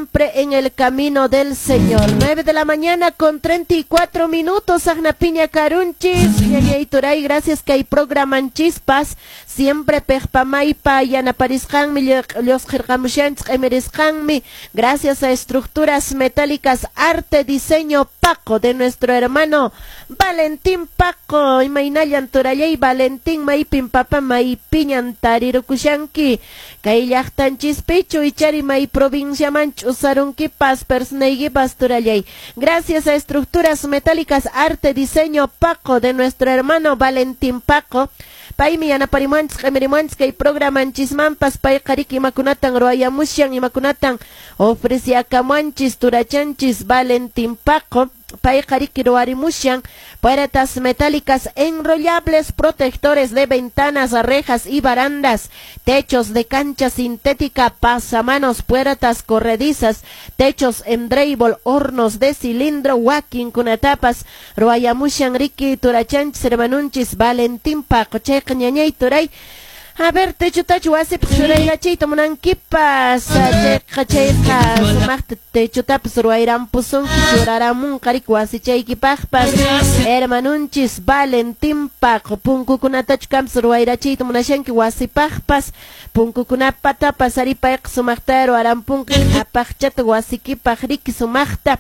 Siempre en el camino del Señor. 9 de la mañana con 34 minutos. Piña karunchis. Ñañay turay, gracias kay programanchispaq. Siempre pejpamaypa yanaparisqanmi, llusqirqamushanchis, q'imirisqanmi. Gracias a Estructuras Metálicas Arte Diseño Paco de nuestro hermano Valentín Paco. Imaynallan, turallay Valentín, maypin, papa, maypiñan tarirukushanki? Kay llaqtanchispichu ichari may provinciaman ch'usarunkipas personaykipas, turallay? Gracias a Estructuras Metálicas Arte Diseño Paco de nuestro hermano Valentín Paco. Paymi yanaparimuanchis, q'imirimuanchis kay programanchismanpas. Payqa riki imakunatan ruwayamushan, imakunatan ofreciakamuanchis turachanchis Valentín Paco. Payqa riki ruwarimushan puertas metálicas enrollables, protectores de ventanas, rejas y barandas, techos de cancha sintética, pasamanos, puertas corredizas, techos en drywall, hornos de cilindro, wakinkunatapas ruwayamushan riki turachanchis hermanunchis Valentín Paco. Chayqa, ñañay turay, a ver, techotachu wasipaq churayrachiyta munankipas? Chayqa sumaqta techotapas ruwayrampusunki, churaramunqa riki wasichaykipaqpas hermanunchis Valentín Paco. Punkukunatachu kampas ruwayrachiyta munashanki wasipaqpas? Punkukunapatapas ari payqa sumaqta ruwarampunqa apaqchata wasikipaq riki sumaqta.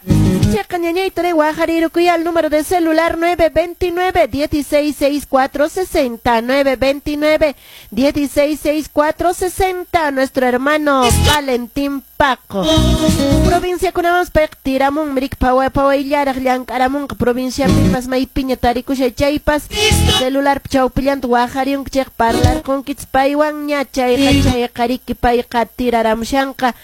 Chayqa, ñañay turay, waqarirukuy al número de celular 929 16 64 60, 929 166460, nuestro hermano Valentín Paco. Provinciakunaman payqa tiramun riki, paway pawayllaraq llank'aramunqa provinciapipas. Maypiña tarikushay chaypas, celular chawpillanta waqariyunki chayqa parlarqunkichis paywanña. Chayqa riki payqa tiraramushanqa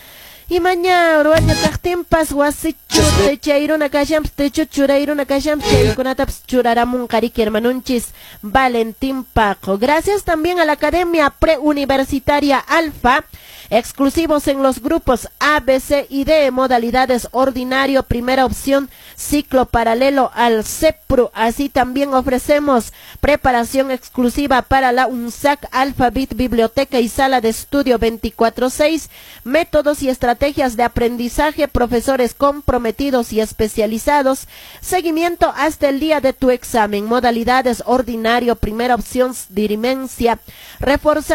imaña ruwaña kaqtinpas, wasichu techayruna kashanpas, techo churayruna kashanpas, chaykunatapas churaramunqa riki hermanunchis Valentín Paco. Gracias también a la Academia Preuniversitaria Alfa, exclusivos en los grupos A, B, C y D, modalidades ordinario, primera opción, ciclo paralelo al CEPRU. Así también ofrecemos preparación exclusiva para la UNSAAC, Alphabet, Biblioteca y Sala de Estudio 24/6, métodos y estrategias de aprendizaje, profesores comprometidos y especializados, seguimiento hasta el día de tu examen, modalidades ordinario, primera opción, dirimencia, reforzamiento.